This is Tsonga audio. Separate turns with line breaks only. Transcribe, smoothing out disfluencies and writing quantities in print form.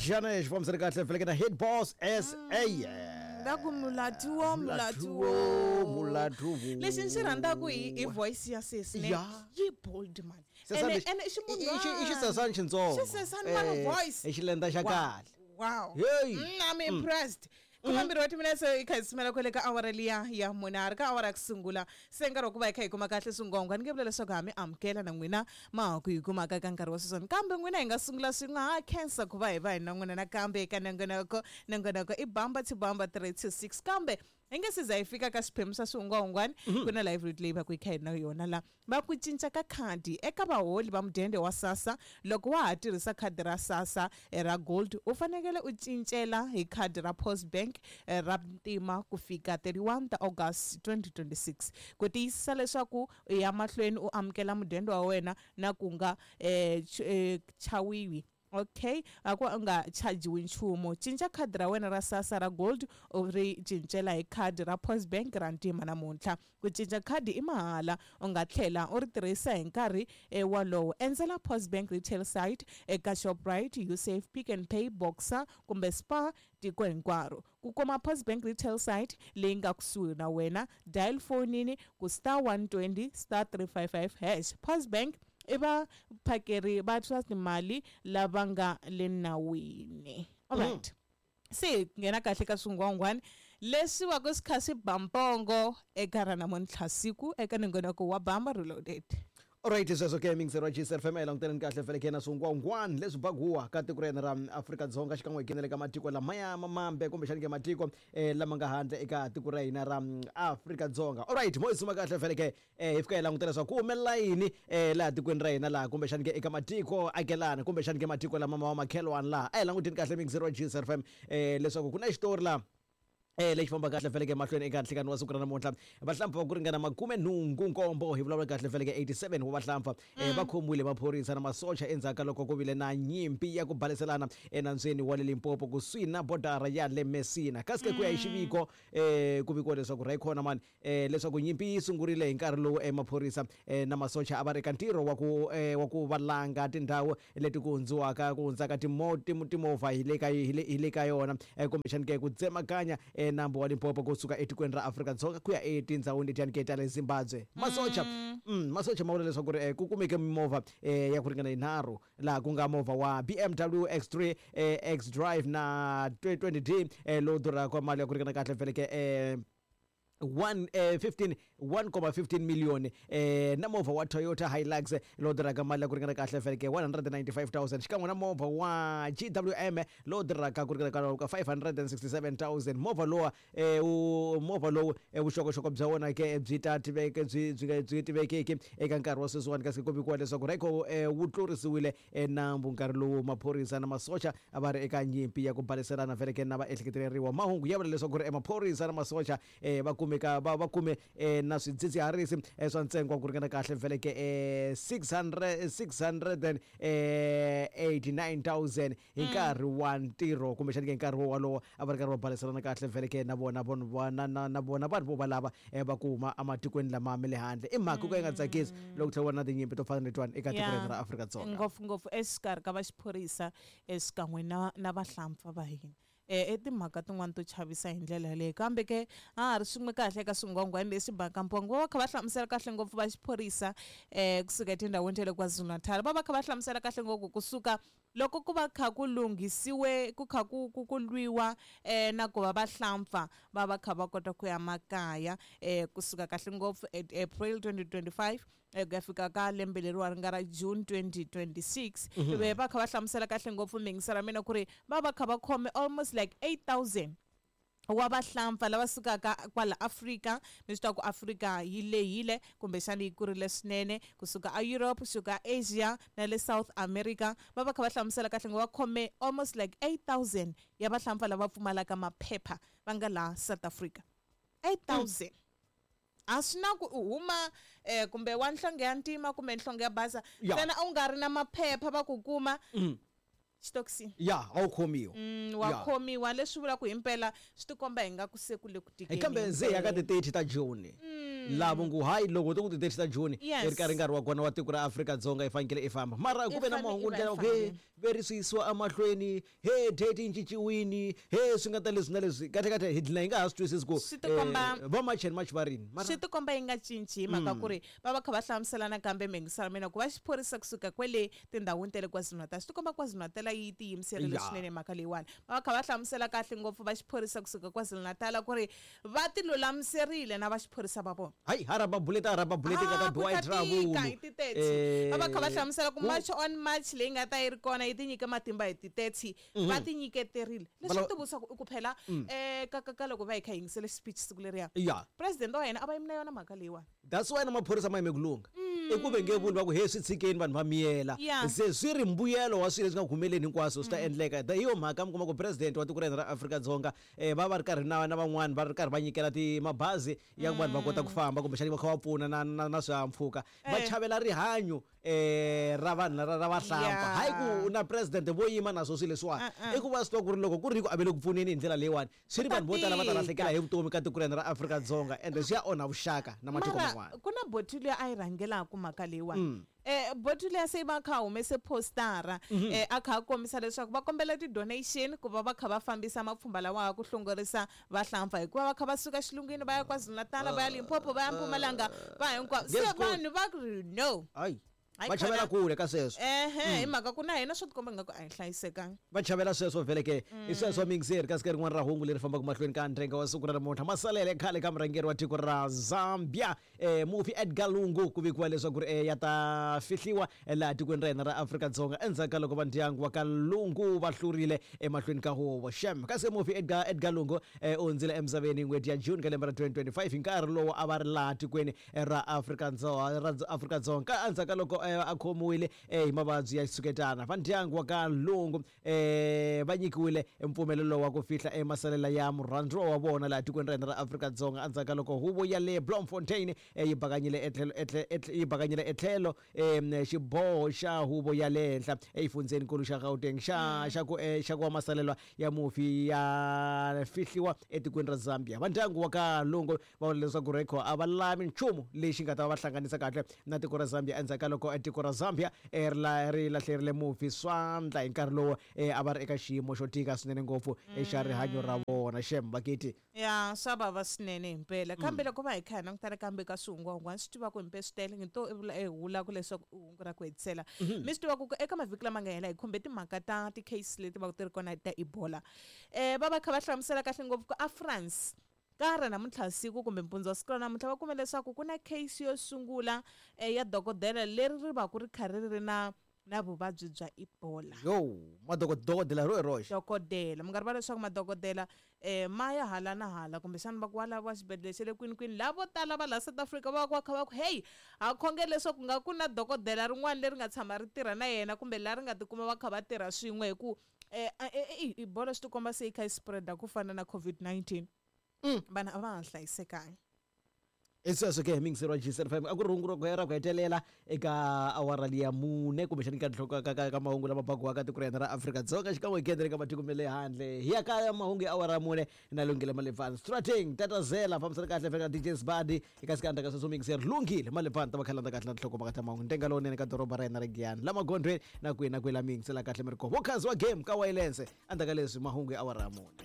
Xana xi fambisana kahle vhele na Head Boss SA.
Va ku mulatuwo, mulatuwo.
Mulatuwo.
Lexi ni xi rhandzaka hi voice ya sesi ne.
Ya.
Yi bold man.
Sesani
Ene
lexi-
ene i ximunhwana.
i xisesani xintsongo.
Xisesani man voice.
I xilenda xa
Wow.
kahle.
Wow.
Hey.
I'm impressed. 12 wa timinetse hi kha hi sumela kwale ka awara liya ya mune a ri ka awara ya ku sungula se nkarhi wa ku va hi kha hi kuma kahle swingwangwa ni nge vula leswaku ha mi amukela na n'wina ma ha ku hi kumaka ka nkarhi wa sweswiwani kambe n'wina hi nga sungula swin'we ha khensa ku va hi va hi na n'wina nakambe eka nongonoko. Nongonoko i bamba to bamba 326 kambe hi nge se za hi fika ka swiphemu swa swihungwahungwani ku na live read leyi va ku yi kha hi na yona la va ku cinca ka khadi eka vaholi va mudende wa SASSA. Loko wa ha tirhisa khadi ra SASSA ra gold u fanekele u cincela hi khadi ra Post Bank ra ntima ku fika 31 ta August 2026 ku tiyisisa leswaku u ya mahlweni u amukela mudende wa wena na ku nga chawiwi. Okay, a ku u nga chajiwi nchumu. Cinca khadi ra wena ra SASSA ra gold u ri cincela hi khadi ra Post Bank ra ntima namuntlha. Ku cinca khadi i mahala, u nga tlhela u ri tirhisa hi nkarhi wolowo. Endzela Post Bank retail site eka Shoprite, Usave, Pick n Pay, Boxer kumbe Spar tiko hinkwaro. Ku kuma Post Bank retail site leyi nga kusuhi na wena, dial fonini ku star 120 star 355 hash. Post Bank i vaphakeri va swa timali lava nga le nawini. All right. Se hi nghena kahle ka swingwangwani leswi va ku swi kha swi ba mpongo eka ra namuntlha siku eka nongonoko wa Bamba Reloaded.
Alright, sweswo ke mingisero wa GCR FM hi languteleni kahle vhele ke na swingwangwani leswi baguwa ka tiko ra hina ra Afrika-Dzonga xikan'we hi nghenele ka matiko lamaya mamambe kumbexani ke matiko lama nga handle eka tiko ra hina ra Afrika-Dzonga. Alright, mo hi suma kahle vhele ke hi fika hi langutela leswaku ku humelela yini laha tikweni ra hina laha kumbexani ke eka matiko akelana kumbexani ke matiko lama ma wa makhelwani laha. A hi languteni kahle mingisero wa GCR FM leswaku ku na xitori laha lexi famba kahle vhele ke mahlweni eka nhlekani wa siku ra namuntlha. Vahlampfa va ku ringana 87 hi vulavula kahle vhele ke 87 wa vahlampfa va khomiwile maphorisa na masocha endzhaku ka loko ku vile na nyimpi ya ku baleselana enandzweni wa le Limpopo kusuhi na bodara ya le Messina. Kasi ke ku ya hi xiviko ku vikiwa leswaku Raykhona mani leswaku nyimpi yi sungurile hi nkarhi lowu maphorisa na masocha a va ri eka ntirho wa ku wa ku valanga tindhawu leti ku hundziwaka ku hundzaka timovha hi le ka hi le ka yona kumbexani ke ku tsemakanya nambu wa Limpopo kusuka etikweni ra Afrika-Dzonga ku ya etindhawini letiyani ke ta le Zimbabwe. Masocha masocha ma vula leswaku ri ku kumeke mimovha ya ku ringana yinharhu laha ku nga movha wa BMW X3 X-Drive na 20D lowu durhaka mali ya ku ringana kahle vhele ke 1 15 1,15 million na movha wa Toyota Hilux lowu durhaka mali ya ku ringana kahle vhele ke 195,000 xikan'we na movha wa GWM lowu durhaka ku ringana ka 567,000. Movha lowa movha lowu vuxokoxoko bya wona ke byi ta tiveke byi byi byi tivekeki eka nkarhi wa sweswiwani kasi ku vikiwa leswaku Rayco wu tlurisiwile nambu nkarhi lowu maphorisa na masocha a va ri eka nyimpi ya ku baleselana vhele ke na vaehleketeleriwa. Mahungu ya vula leswaku ri maphorisa na masocha va kumeka va kume na swidzidziharisi swa ntsengo wa ku ringana kahle vhele ke 600 689,000 hi nkarhi wa ntirho kumbexani ke nkarhi wolowo a va ri karhi va baleselana kahle vhele ke na vona vanhu va na na na vona vanhu vo valava va ku huma ematikweni lama ma le handle. I mhaka ku ka yi nga tsakisi loko tlhela ku va na tinyimpi to fana na letiwani eka tiko ra hina ra Afrika-Dzonga.
Ngopfungopfu exikarhi ka va xiphorisa xikan'we na na vahlampfa va hina. I timhaka tin'wani to chavisa hi ndlela yaleyo kambe ke a ha ri swin'we kahle eka swingwangwani leswi baka mpongo va va kha va hlamusela kahle ngopfu va xiphorisa kusuka etindhawini ta le KwaZulu-Natal va va kha va hlamusela kahle ngopfu kusuka loko ku va kha ku lunghisiwe ku kha ku ku ku lwiwa na ku va vahlampfa va va kha va kota ku ya makaya kusuka kahle ngopfu at April 2025 ku ya fika ka lembe leriwa ri nga ra June 2026 ve va kha va hlamusela kahle ngopfu mingisa ra mina ku ri va va kha va khome almost like 8000 wa vahlampfa lava sukaka kwala Afrika. Mi swi tiva ku Afrika yi lehile kumbexana yi kurile swinene kusuka a Europe kusuka Asia na le South America va va kha va hlamusela kahle ngo va khome almost like 8000 ya vahlampfa lava pfumalaka maphepha va nga laha South Africa. 8000 a swi na ku u huma kumbe wa nhlonge ya ntima kumbe nhlonge ya basa ntsena u nga ri na maphepha va ku kuma. Xitokisini.
Ya, a wu khomiwa.
Wa
Ya.
khomiwa, leswi vulaka himpela swi tikomba hi nga ku se ku le ku tikeni.
Kambe ze ya ka ti 30 ta June, lavo ngu hayi loko to ku ti 30 ta June, i ri karhi nkarhi wa kona wa tiko ra Afrika-Dzonga i fanekele i famba, mara ku ve na
I fanele
mahungu
i va
ndlela
i
ku he
fambile.
ve ri swi yisiwa emahlweni, he date yi cinciwini, he swi nga ta leswi na leswi, kahle kahle hi dlina hi nga ha swi twisisi ku
Swi tikomba-
va March and March va rini mara.
Swi tikomba yi nga cinci hi mhaka ku ri va va kha va hlamusela nakambe mhingisano mina ku va xiphorisa kusuka kwele tindhawini ta le KwaZulu-Natal, swi tikomba KwaZulu-Natal yi tiyimiserile swinene hi mhaka leyiwani. Va va kha va hlamusela kahle ngopfu va xiphorisa kusuka KwaZulu-Natal ku ri va ti lulamiserile na va xiphorisa va vona.
Hayi, haraba bullet, haraba bullet ka ta
Ah, ku
biwa
ta
hi
tika
trouble.
hi ti 30. Va va kha va hlamusela ku
ku-
March on March leyi nga ta yi ri kona yi ti nyike matimba hi ti 30, va ti nyiketerile. Leswi ti vutisa ku i ku phela ka loko va hi kha hi yingisele speech siku leriya, president wa hina a va yimi na yona mhaka leyiwani.
That's why na maphorisa ma yime ku lungha, i ku ve nge vuli va ku he swi tshikeni vanhu va miyela. Se swi ri mbuyelo wa swilo leswi nga ku humeleni hinkwaswo swi ta endleka. Hi yo mhaka mi kuma ku president wa tiko ra hina ra Afrika-Dzonga, va va ri karhi na van'wani va ri karhi va nyikela ti mabazi ya ku vanhu va kota ku famba, kumbexani va kha va pfuna na swihahampfhuka, va chavela rihanyo ra vanhu ra vahlampfa. Hayi ku na president vo yima na swo swilo leswiwani,
Uh-uh.
i ku va swi tiva ku ri loko ku ri ku a ve le ku pfuneni hi ndlela leyiwani, swi ri
Ku ta
vanhu vo tala va ta
tika.
lahlekela hi vutomi ka tiko ra hina ra Afrika-Dzonga, ende swi ya onha vuxaka na matiko
Mara
man'wana.
ku na boti luya a yi rhangelaka mhaka leyiwani, boti luya se va kha a humese postara, a kha a kombisa leswaku va kombela ti-donation ku va va kha va fambisa mapfhumba lawa ku hlongorisa vahlampfa, hikuva va kha va suka xilungwini va ya KwaZulu-Natal, va ya Limpopo, va ya Mpumalanga, va hinkwavo. Se
Yes, good.
vanhu va ri no.
Hayi,
Hayi
va chavela
khona.
kule ka sweswo.
Ehe, hi mhaka ku na hina swo tikomba ingaku a hi hlayisekanga.
Va chavela sweswo vhele ke, i sweswo mingiseri kasi ke rin'wana ra hungu leri fambaka mahlweni ka ndrenga wa siku ra namuntlha, masalele khale ka murhangeri wa tiko ra Zambia, mufi Edgar Lungu, ku vikiwa leswaku ri ya ta fihliwa laha tikweni ra hina ra Afrika-Dzonga endzhaku ka loko va ndyangu wa ka Lungu va hlurile emahlweni ka huvo shem. Kasi mufi Edgar Lungu, u hundzile emisaveni hi n'hweti ya June ka lembe ra 2025 hi nkarhi lowu a va ri laha tikweni ra Afrika-Dzonga ra Afrika-Dzonga ka endzhaku ka loko a khomiwile hi mavabyi ya xitshuketana. Va ndyangu wa ka Lungu va nyikiwile mpfumelelo wa ku fihla emasalela ya murhandziwa wa vona laha tikweni ra hina ra Afrika-Dzonga endzhaku ka loko huvo ya le Bloemfontein yi bakanyile etlhelo xiboho xa huvo ya le henhla exifundzheninkulu xa Gauteng xa ku wa masalelwa ya mufi ya fihliwa etikweni ra Zambia. Va ndyangu wa ka Lungu va vula leswaku rekho a va lavi nchumu lexi nga ta va hlanganisa kahle na tiko ra Zambia endzhaku ka loko tiko ra Zambia ri lahlerile mufi swandla hi nkarhi lowu a va ri eka xiyimo xo tika swinene ngopfu xa rihanyo ra vona. Shem bakiti.
Ya, swa vava swinene himpela, kambe loko va hi kha hi langutana kambe ka swihungwahungwani, swi tiva ku himpe swi tele ngi to i vula i vula ku leswaku i hungu ra ku hetisela. Mi swi tiva ku eka mavhiki lama nga hela hi khumbe timhaka ta ti-case leti va ku ti ri kona ta Ebola, va va kha va hlamusela kahle ngopfu ku a France ka ra namuntlha siku kumbe mpundzu wa siku ra namuntlha va kume leswaku ku na case yo sungula ya dokodela leri ri va ku ri kha ri ri na vuvabyi bya Ebola.
Yo, madokodela ro hi roxe.
Dokodela, mi nga rivali leswaku madokodela ma ya hala na hala, kumbexana va ku wa laviwa xibedhlele xa le kwini kwini, lavo tala va laha South Africa va va kha va ku hey, ha khongela leswaku nga ku na dokodela rin'wana leri nga tshama ri tirha na yena kumbe laha ri nga tikuma va kha va tirha swin'we, hi ku Ebola swi tikomba se yi kha yi spread-a ku fana na COVID-19. Vanhu a va ha hlayisekanga.
I sweswo ke mingiseri wa GCR5, a ku ri hungu ra ku hetelela eka awara liya mune kumbexani ka nhloko ka mahungu lama bakiwaka tiko ra hina ra Afrika-Dzonga xikan'we hi le ka matiko ma le handle. Hi ya ka mahungu ya awara ya mune na Lunghile Malefani Strating Tatazela fambisana kahle feka DJ Sbadi eka sikandza ka sweswo mingiseri Lunghile Malefani ta va khalanda kahle na tinhlokomhaka ta mahungu ntenga lowunene ka doroba ra hina ra Giyani la magondzweni na kwihi na kwihi la mingisela kahle mi ri kona vokhanzi wa game ka Wayilense endzhaku ka leswi mahungu ya awara ya mune.